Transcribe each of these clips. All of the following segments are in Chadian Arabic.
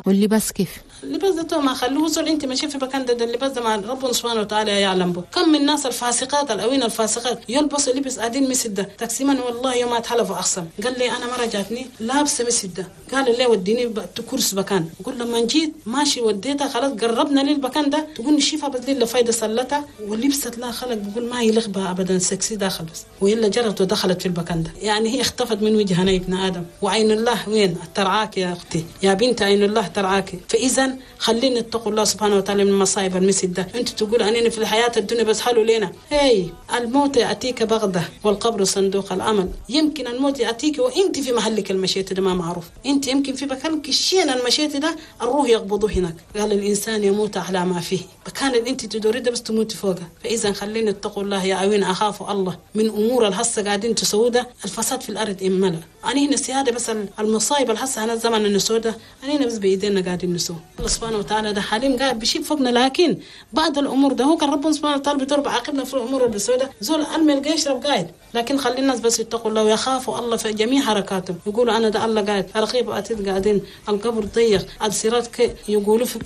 واللباس كيف؟ اللباس ده ما خلوه زول، انت ماشي في مكان ده اللباس ده مع ربنا سبحانه وتعالى يعلم به. كم من الناس الفاسقات الاوين الفاسقات يلبسوا لبس قاعدين مسد ده تقسيما، والله يوم اتحلف اقسم. قال لي انا مره جاتني لابسه مسد ده، قال لي وديني كرسي مكان، وقول لما جيت ماشي وديتها خلاص قربنا للمكان ده، تقول شيفها بس لي فايده سلتها ولبست لها خلق، بقول ما يلغ بها ابدا سكسي داخل بس، وإلا جرت ودخلت في المكان ده. يعني هي اختفت من وجهنا يا ابن ادم. وعين الله وين ترعاك يا اختي يا بنت، عين الله ترعاك. فاذا خلينا نتقوا الله سبحانه وتعالى من مصايب المسجد ده. انت تقول اننا في الحياه الدنيا بس حلو لنا، هي الموت ياتيك بغته والقبر صندوق الامل. يمكن الموت ياتيك وانت في محلك المشيت ده ما معروف، انت يمكن في مكان كشين المشيت ده الروح يقبضه هناك. قال الانسان يموت على ما فيه، مكان اللي انت تدوري ده بس تموت فوقه. فاذا خلينا نتقوا الله يا عوين، اخافوا الله من امور الهسه قاعدين تسوده. الفساد في الارض املا انا هنا السياده بس المصايب الهسه انا الزمن النسوده انا هنا بس بايدينا قاعدين نسوه. الله سبحانه وتعالى ده حليم قاعد بيشيل فوقنا، لكن بعض الامور ده هو كان ربنا سبحانه وتعالى بيضرب عاقبنا في الامور السوداء. زول المل يشرب قاعد، لكن خلي الناس بس يتقوا الله ويخافوا الله في جميع حركاتهم. يقولوا انا ده الله قاعد رقيب اتيت قاعدين القبر ضيق الصراط يقولوا في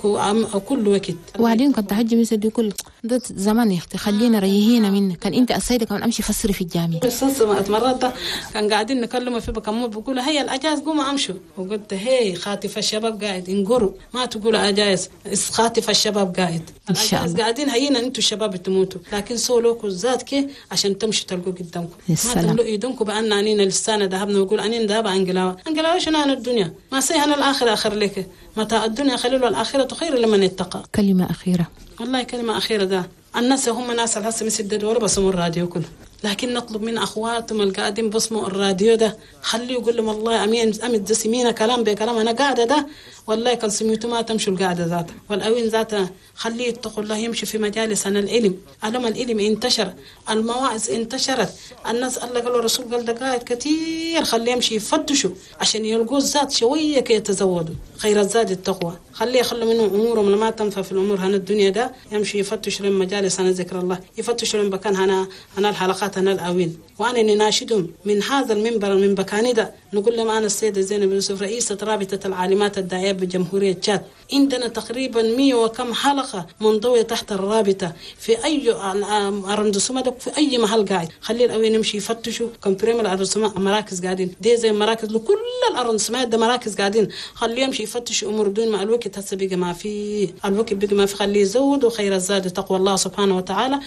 كل وقت. وبعدين كنت حجي مثل دي كل ده زمان يا اختي خلينا ريهينا منك. كان انت السيده كمان امشي فسري في الجامع. قصص مرات كان قاعدين نكلمه في بكم بقول هيا الاجاز قوم امشوا، وقلت هي خاطف الشباب قاعد انقروا ما تقول اجاز خاطف الشباب قاعد ان شاء الله قاعدين هينا انتوا الشباب تموتوا، لكن سولوكوا الذات كي عشان تمشوا تلقوا قدامكم. ما تملوا ايدكم بان انينا لسانا ذهبنا ويقول انينا ذهب انقلاوه انقلاوه شنو عن الدنيا ما سي انا الاخره اخر لك متاع الدنيا خليل والاخره خير لمن اتقى. كلمه اخيره. والله كلمه اخيره ده الناس هم ناس الهسه مسدد ولا بسموا الراديو كله، لكن نطلب من اخواتهم القاعدين بصموا الراديو ده خليه يقول لهم والله امين امد سمينا كلام بكلام انا قاعده ده والله كان سميتو ما تمشوا القاعده ذاتها والاوين ذاتها. خليه يتقوا الله يمشي في مجالس عن العلم، علم العلم انتشر، المواعظ انتشرت، الناس الله قالوا الرسول قال دقائق كثير، خليه يمشي يفتشوا عشان يلقوا الزاد شويه كي يتزودوا خير الزاد التقوى. خليه يخلوا منه امورهم ما تنفع في الامور هنا الدنيا ده، يمشي يفتش لهم مجالس عن ذكر الله، يفتش لهم مكان هنا هنا الحلقات هنا الاوين. وانا نناشدهم من هذا المنبر من بكاني ده نقول لهم انا السيده زينب يوسف رئيسه رابطه العالمات الداعيه بجمهوريه تشاد، عندنا تقريبا 100 وكم حلقه منضويه تحت الرابطه في اي arrondissement في اي محل قاعد. خلي الاوين يمشي يفتشوا كم بريم ال arrondissement مراكز قاعدين دي زي مراكز لكل ال arrondissement ده مراكز قاعدين، خليه يمشي يفتشوا امور دون مع الوقت هسه بقى ما في الوقت بقى ما في، خليه يزود وخير الزاد تقوى الله سبحانه وتعالى.